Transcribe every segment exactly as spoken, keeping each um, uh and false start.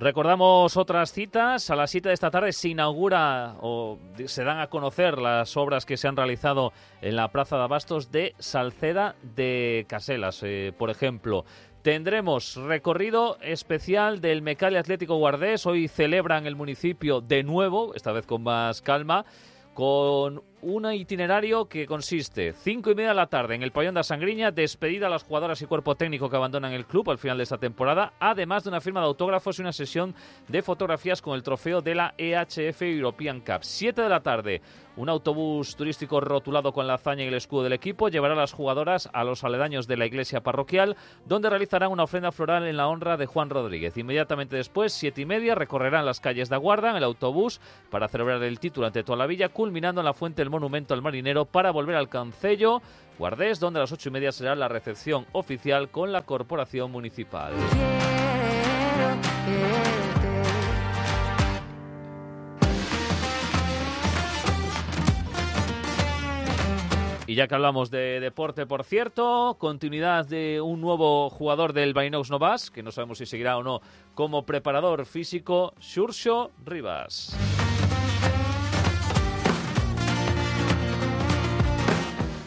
Recordamos otras citas. A las siete de esta tarde se inaugura o se dan a conocer las obras que se han realizado en la Plaza de Abastos de Salceda de Caselas, eh, por ejemplo. Tendremos recorrido especial del Mecale Atlético Guardés. Hoy celebran el municipio de nuevo, esta vez con más calma, con un itinerario que consiste cinco y media de la tarde en el Pabellón da Sangriña, despedida a las jugadoras y cuerpo técnico que abandonan el club al final de esta temporada, además de una firma de autógrafos y una sesión de fotografías con el trofeo de la E H F European Cup. siete de la tarde, un autobús turístico rotulado con la hazaña y el escudo del equipo llevará a las jugadoras a los aledaños de la iglesia parroquial, donde realizarán una ofrenda floral en la honra de Juan Rodríguez. Inmediatamente después, siete y media, recorrerán las calles de Aguarda en el autobús para celebrar el título ante toda la villa, culminando en la fuente del Monumento al Marinero para volver al Concello Guardés, donde a las ocho y media será la recepción oficial con la corporación municipal. Y ya que hablamos de deporte, por cierto, continuidad de un nuevo jugador del Bainox Novas, que no sabemos si seguirá o no como preparador físico, Xurxo Rivas.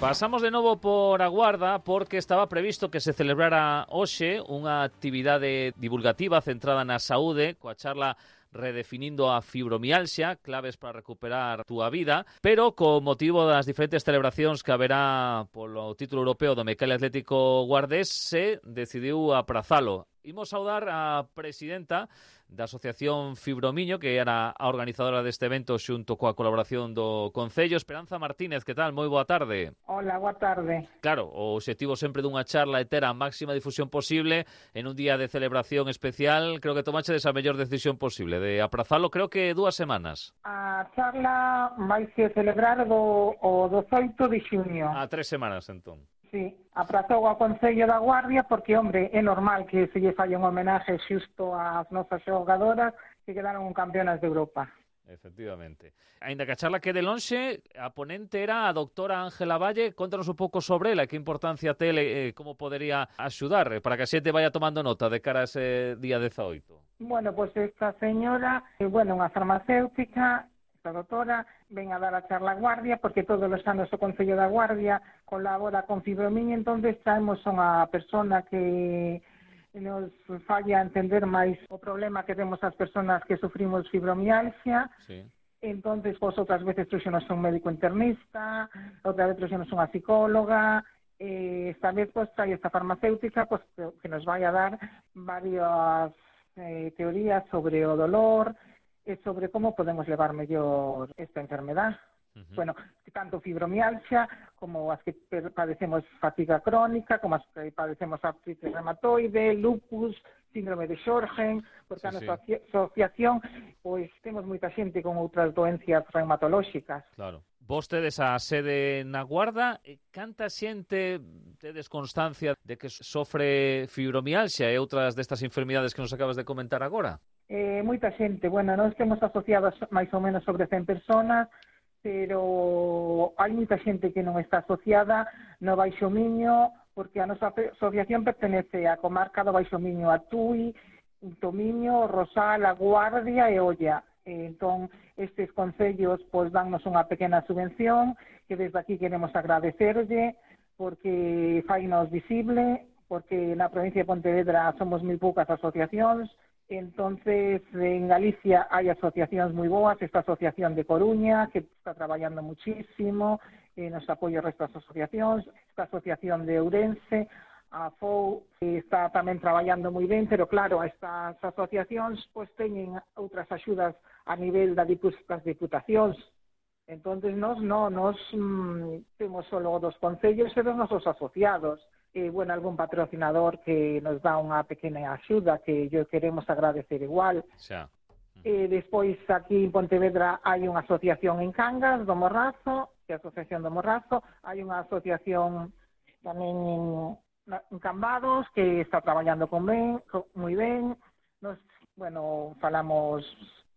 Pasamos de novo por Aguarda porque estaba previsto que se celebrara hoxe unha actividade divulgativa centrada na saúde coa charla redefinindo a fibromialxia, claves para recuperar a túa vida, pero con motivo das diferentes celebracións que haberá polo título europeo do Mecale Atlético Guardés se decidiu aprazalo. Imos saudar a presidenta da Asociación Fibromiño, que era a organizadora deste evento xunto coa colaboración do Concello. Esperanza Martínez, que tal? Moi boa tarde. Hola, boa tarde. Claro, o obxectivo sempre dunha charla é ter a máxima difusión posible en un día de celebración especial. Creo que tomache esa mellor decisión posible de aprazalo, creo que dúas semanas. A charla vai se celebrar do, o dezoito de xuño. A tres semanas, entón. Sí, aprazou ao Concello da Guardia porque, hombre, é normal que se lle falle un homenaje xusto ás nosas xogadoras que quedaron campeonas de Europa. Efectivamente. Ainda que a charla quede lonxe, a ponente era a doutora Ángela Valle. Contanos un pouco sobre ela, que importancia tele, eh, como podería axudar, eh, para que a xente vaya tomando nota de cara a ese día dezaoito. Bueno, pois pues esta señora, eh, bueno, unha farmacéutica, esta doutora, ven a dar a charla a Guardia, porque todos os anos o Concello da Guardia colabora con Fibromiño, entonces traemos unha persona que nos falla entender máis o problema que temos as personas que sufrimos fibromialgia. Sí. Entonces, pues, outras veces trouxenos un médico internista, outra vez trouxenos unha psicóloga, eh, esta vez pues, trae esta farmacéutica pues, que nos vai a dar varias eh, teorías sobre o dolor, e sobre como podemos levar mellor esta enfermedad. Uh-huh. Bueno, tanto fibromialgia como as que padecemos fatiga crónica, como as que padecemos artritis reumatoide, lupus, síndrome de Sjögren, porque sí, a nosa sí. asociación pois temos moita xente con outras doencias reumatolóxicas. Claro. Vos tedes a sede na Guarda, canta xente tedes constancia de que sofre fibromialgia e outras destas enfermidades que nos acabas de comentar agora? Eh, moita xente, bueno, nós temos asociados máis ou menos sobre cen personas, pero hai moita xente que non está asociada no Baixo Miño, porque a nosa asociación pertenece á comarca do Baixo Miño, a Tui, Tomiño, Rosal, a Guardia e Olla. Entón, estes concellos pois dannos unha pequena subvención que desde aquí queremos agradecerlle porque fainos visible, porque na provincia de Pontevedra somos moi poucas asociacións. Entonces, en Galicia hai asociacións moi boas, esta asociación de Coruña, que está traballando muchísimo, eh, nos apoia o resto das asociacións, esta asociación de Ourense, a F O U, que está tamén traballando moi ben, pero claro, estas asociacións pois teñen outras axudas a nivel da dipus, das diputacións. Entonces, nos, no, nos mm, temos só dos concellos e dos nosos asociados. Eh, bueno, algún patrocinador que nos dá unha pequena axuda que yo queremos agradecer igual. Xa. Eh, despois, aquí en Pontevedra hai unha asociación en Cangas do Morrazo, que é a Asociación do Morrazo, hai unha asociación tamén en, en Cambados que está traballando con ben, con, moi ben. Nos, bueno, falamos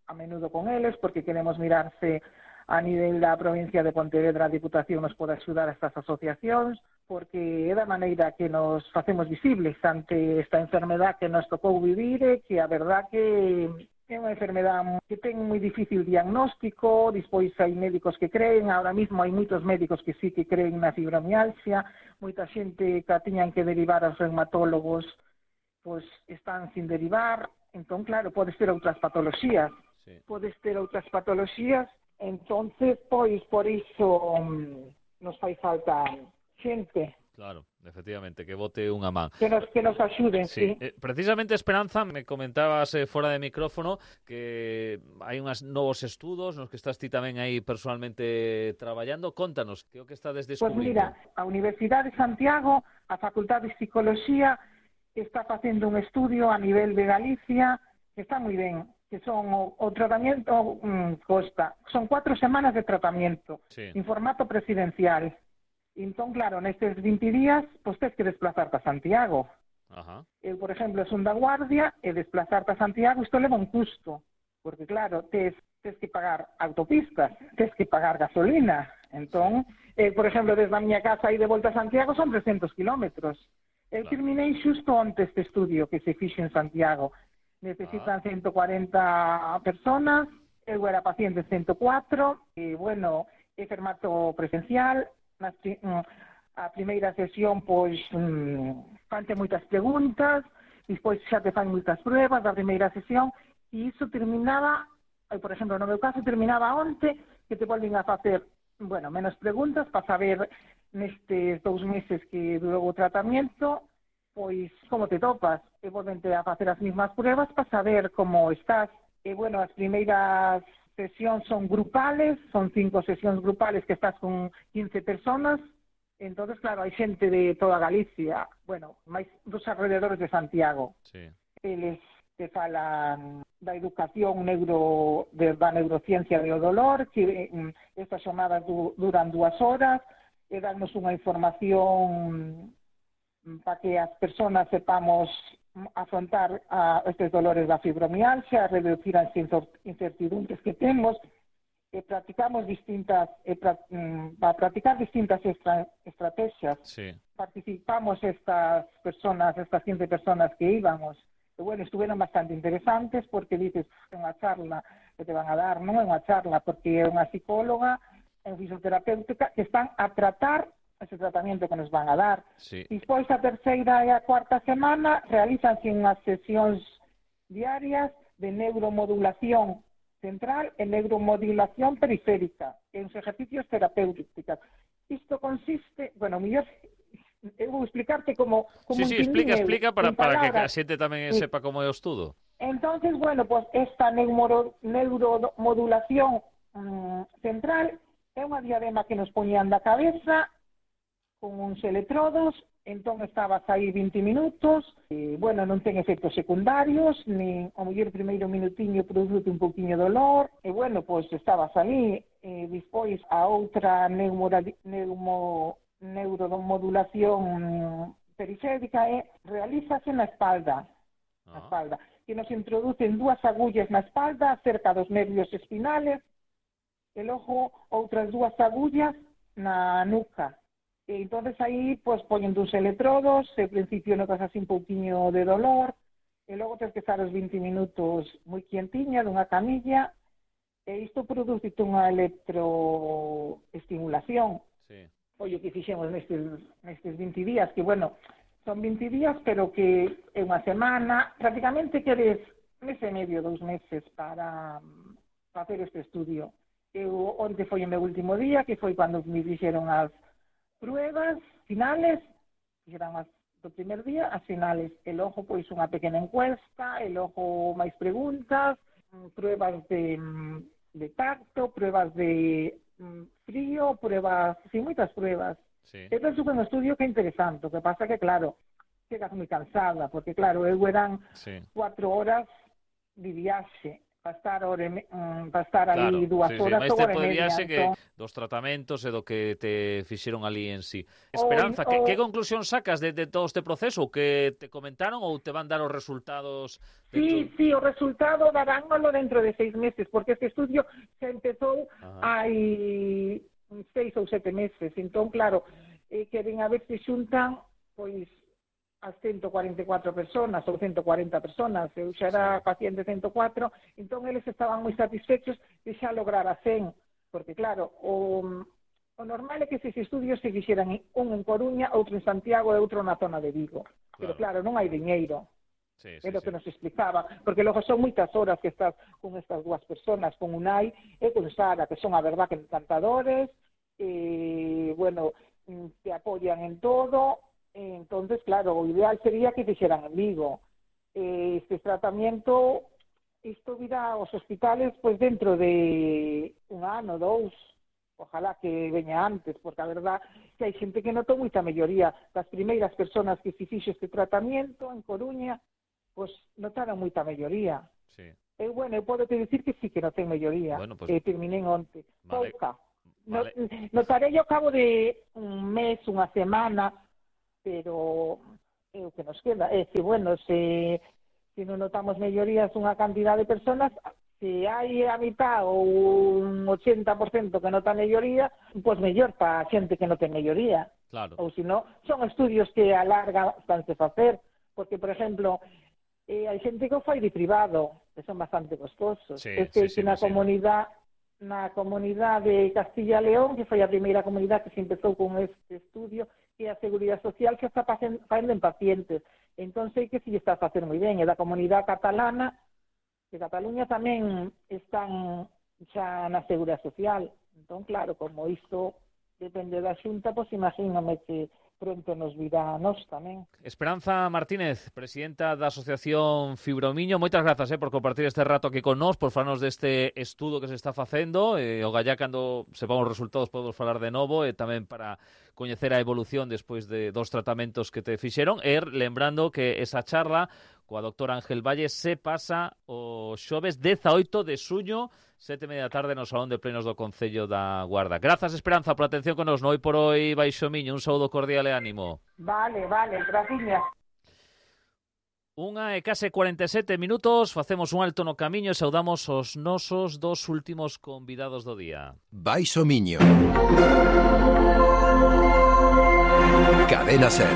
a menudo con eles porque queremos mirarse a nivel da provincia de Pontevedra a Diputación nos pode axudar a estas asociacións, porque é da maneira que nos facemos visibles ante esta enfermedad que nos tocou vivir e que a verdad que é unha enfermedade que ten moi difícil diagnóstico, despois hai médicos que creen, ahora mismo hai moitos médicos que sí que creen na fibromialgia, moita xente que a tiñan que derivar aos reumatólogos, pois están sin derivar, entón claro, podes ter outras patoloxías, sí. podes ter outras patoloxías, entonces, pois, por iso um, nos fai falta xente. Claro, efectivamente, que bote unha man. Que nos, que nos axuden, sí. sí. Eh, precisamente, Esperanza, me comentabas eh, fora de micrófono que hai uns novos estudos nos que estás ti tamén aí personalmente traballando. Contanos, que é o que estades descubrindo? Pois mira, a Universidade de Santiago, a Facultade de Psicología, está facendo un estudio a nivel de Galicia que está moi ben, que son o, o tratamento um, costa. Son cuatro semanas de tratamento, sí. en formato presidencial. Entón, claro, nestes vinte días, pois tens que desplazarte a Santiago. Ajá. Eu, por exemplo, son da Guardia, e desplazarte a Santiago, isto leva un custo. Porque, claro, tes, tes que pagar autopistas, tes que pagar gasolina. Entón, eh, por exemplo, desde a miña casa e de volta a Santiago son trescentos kilómetros. Eu claro. terminei xusto onte este estudio que se fixe en Santiago. Necesitan ah. ciento cuarenta personas, eu era paciente ciento cuatro, e, bueno, é formato presencial. Na, a primeira sesión, pois, mmm, fante moitas preguntas, despois xa te fan moitas pruebas da primeira sesión, e iso terminaba, por exemplo, no meu caso, terminaba onte, que te volven a facer, bueno, menos preguntas, para saber nestes dous meses que durou o tratamento, pois, como te topas, e volvente a facer as mismas pruebas para saber como estás. E, bueno, as primeiras sesións son grupales, son cinco sesións grupales que estás con quince personas, entonces claro, hai xente de toda Galicia, bueno, máis dos alrededores de Santiago. Sí. Eles te falan da educación neuro, de, da neurociencia do dolor, que um, estas xornadas du, duran dúas horas, e darnos unha información um, para que as personas sepamos afrontar a estes dolores da fibromialgia, reducir as incertidumbres que temos, e practicamos distintas, e pra, mm, para practicar distintas extra, estrategias. Sí. Participamos estas personas, estas quince personas que íbamos, e bueno, estuvieron bastante interesantes, porque dices, é unha charla que te van a dar, non é unha charla, porque é unha psicóloga, é unha fisioterapéutica, que están a tratar ese tratamento que nos van a dar. Sí. Despois, a terceira e a cuarta semana, realízanse unhas sesións diarias de neuromodulación central e neuromodulación periférica, en os ejercicios terapéuticos. Isto consiste, bueno, mellor, eu vou explicarte como... como sí, sí, explica, eu, explica para, para que a xente tamén sí. sepa como é o estudo. Entonces, bueno, pues esta neuro, neuromodulación um, central é unha diadema que nos poñían da cabeza con uns electrodos, entón estabas aí vinte minutos, e, bueno, non ten efectos secundarios, nin o mellor primeiro minutiño produce un pouquiño de dolor, e, bueno, pois estabas aí, e despois a outra neumo, neuromodulación periférica é, realízase na espalda, ah. na espalda, que nos introducen dúas agullas na espalda, cerca dos nervios espinales, e logo outras dúas agullas na nuca. E entonces aí, pois, poñen dos electrodos, e ao principio notas así un pouquiño de dolor, e logo tens que estar os vinte minutos moi quientiña dunha camilla, e isto produce unha electroestimulación. Sí. Foi o que fixemos nestes, nestes vinte días, que, bueno, son vinte días, pero que é unha semana, prácticamente queres mes e medio, dous meses para facer este estudio. Eu, onde foi o meu último día, que foi cando me dixeron as pruebas finales, que eran as do primer día, as finales, e logo pois unha pequena encuesta, e logo máis preguntas, pruebas de, de tacto, pruebas de mm, frío, pruebas, sí, moitas pruebas. Sí. É un un estudio que é interesante, o que pasa que, claro, chegas moi cansada, porque, claro, eu eran sí. cuatro horas de viaxe para estar, ore, um, para estar claro, ali dúas sí, horas sí. ou Este hora e podría media. ser que Entón, dos tratamentos e do que te fixeron ali en sí. o, Esperanza, que, o, que conclusión sacas de, de todo este proceso? O que te comentaron ou te van dar os resultados dentro? Sí, sí, o resultado darámoslo dentro de seis meses, porque este estudio se empezou Ajá. hai seis ou sete meses. Entón, claro, eh, queren a ver se xuntan, pois, as ciento cuarenta e catro personas ou ciento cuarenta personas. Eu xa era Sí. paciente ciento cuatro, entón eles estaban moi satisfechos de xa lograr a cen, porque, claro, o, o normal é que esses estudios se fixeran un en Coruña, outro en Santiago e outro na zona de Vigo. Claro. Pero, claro, non hai diñeiro. Sí, sí, é o que sí. nos explicaba, porque logo son moitas horas que estás con estas dúas personas, con Unai e con Sara, que son a verdad que encantadores, e, bueno, te apoyan en todo. Entonces, claro, o ideal sería que fixeran en Vigo. Eh, este tratamiento, isto virá aos hospitales pois dentro de un ano, dous, ojalá que veña antes, porque a verdad que hai xente que notou moita melloría. Das primeiras personas que se fixo este tratamiento en Coruña, pois notaron moita melloría. Sí. E, bueno, eu podo te dicir que sí que notei melloría. Bueno, pues, eh, terminé onte. Vale. Pouca. Vale. No, notarei ao cabo de un mes, unha semana, pero é o que nos queda. É que, bueno, se, se non notamos mellorías unha cantidad de personas, se hai a mitad ou un ochenta por cento que nota melloría, pois mellor para a xente que non ten melloría. Claro. Ou se non, son estudios que a larga vanse facer, porque, por exemplo, eh, hai xente que o fai de privado, que son bastante costosos. Sí, este sí, sí, que na sí. comunidade na comunidade de Castilla e León, que foi a primeira comunidade que se empezou con este estudio, que a Seguridade Social que está facendo en pacientes. Entón sei que si está a facer moi ben. E da comunidade catalana, de Cataluña tamén están xa na Seguridade Social. Entón, claro, como isto depende da Xunta, pois imagíname que pronto nos virá a nós tamén. Esperanza Martínez, presidenta da Asociación Fibromiño, moitas grazas eh, por compartir este rato aquí con nós, por falarnos deste estudo que se está facendo, e o gallá cando sepamos os resultados podemos falar de novo, e tamén para coñecer a evolución despois de dos tratamentos que te fixeron, e lembrando que esa charla coa doctora Ángel Valle se pasa o xoves dezaoito de suño, sete e media da tarde no Salón de Plenos do Concello da Guarda. Grazas, Esperanza, por atención con nos no Hoy por Hoy Baixo Miño. Un saúdo cordial e ánimo. Vale, vale, gracias. Unha e case cuarenta e sete minutos, facemos un alto no camiño e saudamos os nosos dos últimos convidados do día. Baixo Miño. Cadena Ser.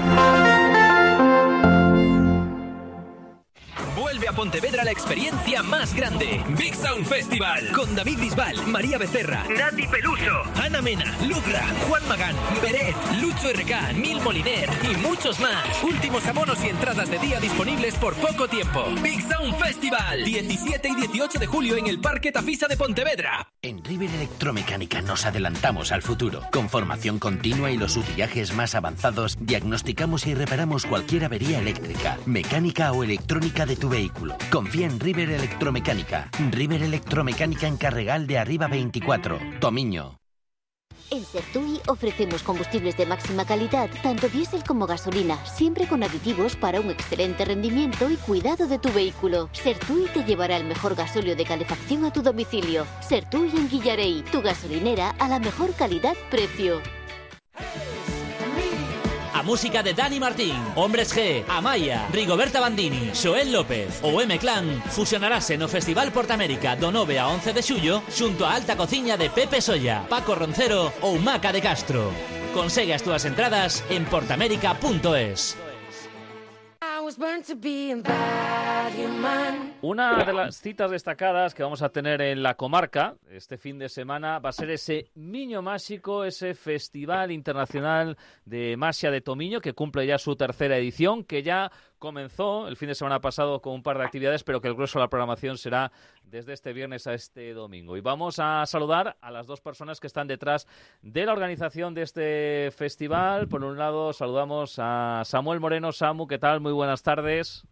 Vuelve a Pontevedra la experiencia más grande. Big Sound Festival. Con David Bisbal, María Becerra, Nati Peluso, Ana Mena, Lugra, Juan Magán, Beret, Lucho R K, Nil Moliner y muchos más. Últimos abonos y entradas de día disponibles por poco tiempo. Big Sound Festival. diecisiete y dieciocho de julio en el Parque Tafisa de Pontevedra. En River Electromecánica nos adelantamos al futuro. Con formación continua y los utillajes más avanzados, diagnosticamos y reparamos cualquier avería eléctrica, mecánica o electrónica de tu vehículo. Confía en River Electromecánica. River Electromecánica en Carregal de Arriba veinticuatro, Tomiño. En Sertui ofrecemos combustibles de máxima calidad, tanto diésel como gasolina, siempre con aditivos para un excelente rendimiento y cuidado de tu vehículo. Sertui te llevará el mejor gasóleo de calefacción a tu domicilio. Sertui en Guillarey, tu gasolinera a la mejor calidad-precio. A música de Dani Martín, Hombres G, Amaya, Rigoberta Bandini, Xoel López ou M-Clan fusionarase no Festival Portamérica do nove a once de xullo xunto a alta cociña de Pepe Solla, Paco Roncero ou Maca de Castro. Consegue as túas entradas en portamérica punto es. Una de las citas destacadas que vamos a tener en la comarca este fin de semana va a ser ese Miño Máxico, ese Festival Internacional de Maxia de Tomiño, que cumple ya su tercera edición, que ya comenzó el fin de semana pasado con un par de actividades, pero que el grueso de la programación será desde este viernes a este domingo. Y vamos a saludar a las dos personas que están detrás de la organización de este festival. Por un lado, saludamos a Samuel Moreno. Samu, ¿qué tal? Muy buenas tardes.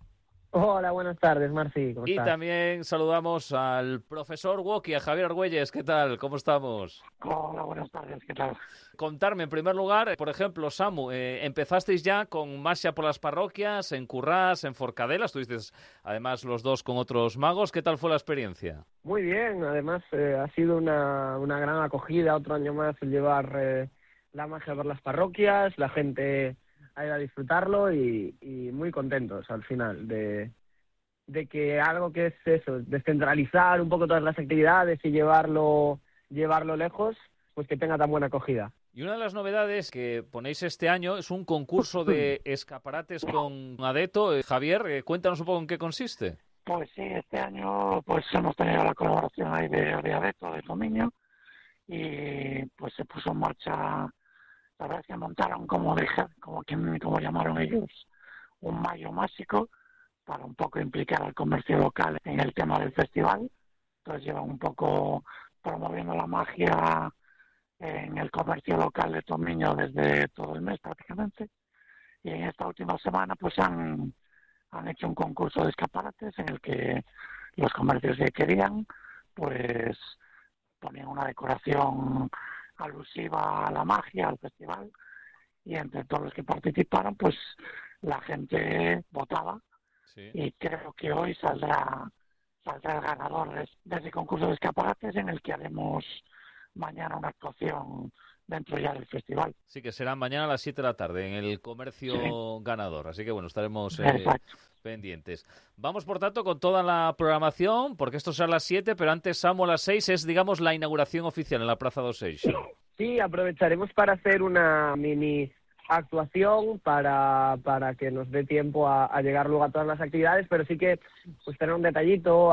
Hola, buenas tardes, Marci. ¿Cómo Y estás? también saludamos al profesor Woki, a Javier Argüelles. ¿Qué tal? ¿Cómo estamos? Hola, buenas tardes, ¿qué tal? Contarme, en primer lugar, por ejemplo, Samu, eh, empezasteis ya con marcha por las parroquias, en Currás, en Forcadell, estuvisteis además los dos con otros magos. ¿Qué tal fue la experiencia? Muy bien, además eh, ha sido una, una gran acogida, otro año más el llevar eh, la magia por las parroquias, la gente ha ido a disfrutarlo y, y muy contentos al final de, de que algo que es eso, descentralizar un poco todas las actividades y llevarlo, llevarlo lejos, pues que tenga tan buena acogida. Y una de las novedades que ponéis este año es un concurso de escaparates con Adeto. Eh, Javier, eh, cuéntanos un poco en qué consiste. Pues sí, este año pues hemos tenido la colaboración ahí de, de Adeto, de Tomiño, y pues se puso en marcha, la verdad es que montaron como, deja, como, quien, como llamaron ellos, un mayo mágico para un poco implicar al comercio local en el tema del festival. Entonces llevan un poco promoviendo la magia en el comercio local de Tomiño desde todo el mes prácticamente, y en esta última semana pues han, han hecho un concurso de escaparates en el que los comercios que querían pues ponían una decoración alusiva a la magia, al festival, y entre todos los que participaron pues la gente votaba. Sí. Y creo que hoy saldrá saldrá el ganador de, de ese concurso de escaparates, en el que haremos mañana una actuación dentro ya del festival. Sí, que será mañana a las siete de la tarde en el comercio sí. ganador. Así que bueno, estaremos eh, pendientes. Vamos, por tanto, con toda la programación, porque esto será a las siete, pero antes, Samu, a las seis es, digamos, la inauguración oficial en la Praza dos Seixos. Sí, aprovecharemos para hacer una mini actuación para, para que nos dé tiempo a, a llegar luego a todas las actividades, pero sí que pues tener un detallito.